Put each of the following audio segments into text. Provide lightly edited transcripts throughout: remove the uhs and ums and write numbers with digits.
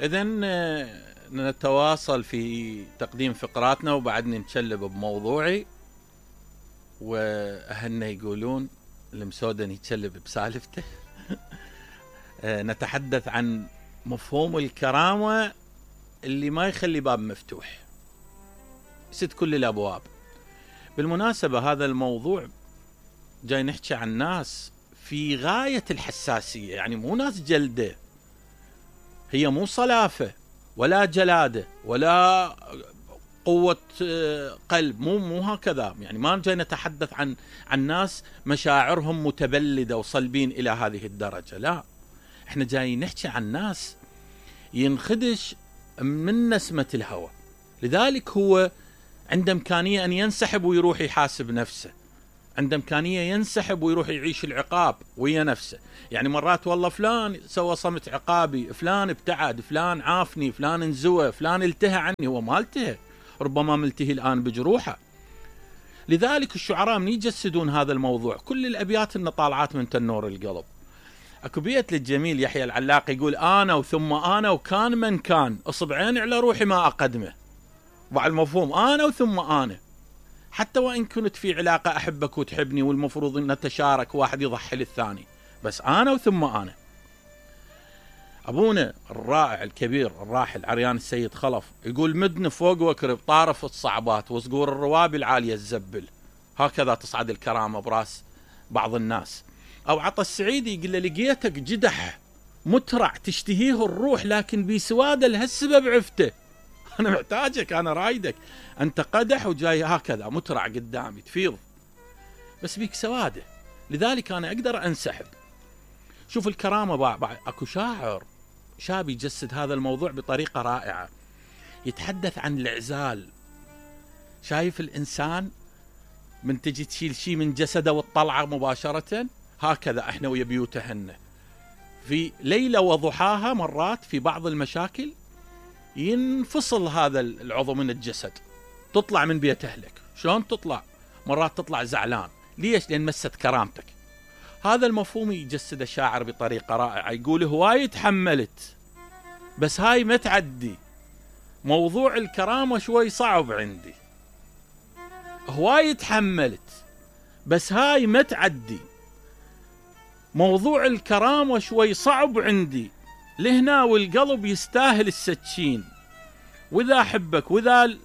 إذن نتواصل في تقديم فقراتنا وبعدني نشلب بموضوعي. وأهلنا يقولون المسودن يتشلب بسالفته. نتحدث عن مفهوم الكرامة اللي ما يخلي باب مفتوح، يسد كل الأبواب. بالمناسبة هذا الموضوع جاي نحكي عن ناس في غاية الحساسية، يعني مو ناس جلدة، هي مو صلافة ولا جلادة ولا قوة قلب، مو هكذا. يعني ما جاي نتحدث عن ناس مشاعرهم متبلدة وصلبين إلى هذه الدرجة، لا، احنا جاي نحكي عن ناس ينخدش من نسمة الهوى، لذلك هو عنده إمكانية أن ينسحب ويروح يحاسب نفسه، عنده إمكانية ينسحب ويروح يعيش العقاب ويا نفسه. يعني مرات والله فلان سوى صمت عقابي، فلان ابتعد، فلان عافني، فلان انزوى، فلان التهى عني. هو ما التهى، ربما ملتهي الآن بجروحه. لذلك الشعراء من يجسدون هذا الموضوع، كل الأبيات إن طالعات من تنور القلب. اكو بيت للجميل يحيى العلاق يقول: أنا وثم أنا وكان من كان، أصبعين على روحي ما أقدمه. وعلى المفهوم أنا وثم أنا، حتى وإن كنت في علاقة أحبك وتحبني والمفروض أن نتشارك، واحد يضحي للثاني، بس أنا وثم أنا. أبونا الرائع الكبير الراحل عريان السيد خلف يقول: مدن فوق وكرب طارف الصعبات وصقور الروابي العالية الزبل، هكذا تصعد الكرامة براس بعض الناس. أو عطا السعيدي يقول له: لقيتك جدح مترع تشتهيه الروح لكن بسواد لهالسبب عفته. أنا محتاجك، أنا رايدك، أنت قدح وجاي هكذا مترع قدامي تفيض، بس بيك سواده، لذلك أنا أقدر أنسحب. شوف الكرامة أكو شاعر شاب يجسد هذا الموضوع بطريقة رائعة، يتحدث عن العزال. شايف الإنسان من تجي تشيل شيء من جسده والطلعة مباشرة، هكذا احنا ويا بيوتهن في ليلة وضحاها. مرات في بعض المشاكل ينفصل هذا العضو من الجسد، تطلع من بيت أهلك. شلون تطلع؟ مرات تطلع زعلان، ليش؟ لأن مست كرامتك. هذا المفهوم يجسد الشاعر بطريقة رائعة، يقول: هواي تحملت بس هاي ما تعدي، موضوع الكرامة شوي صعب عندي. هواي تحملت بس هاي ما تعدي، موضوع الكرامة شوي صعب عندي، لهنا والقلب يستاهل السكين، وإذا أحبك وإذا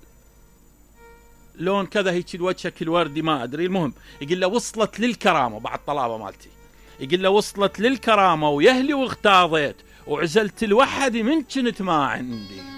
لون كذا هيك وجهك الوردي ما أدري. المهم يقول له: وصلت للكرامة بعد طلابة مالتي، يقول له: وصلت للكرامة ويهلي واغتاظيت وعزلت الوحدي من كنت ما عندي.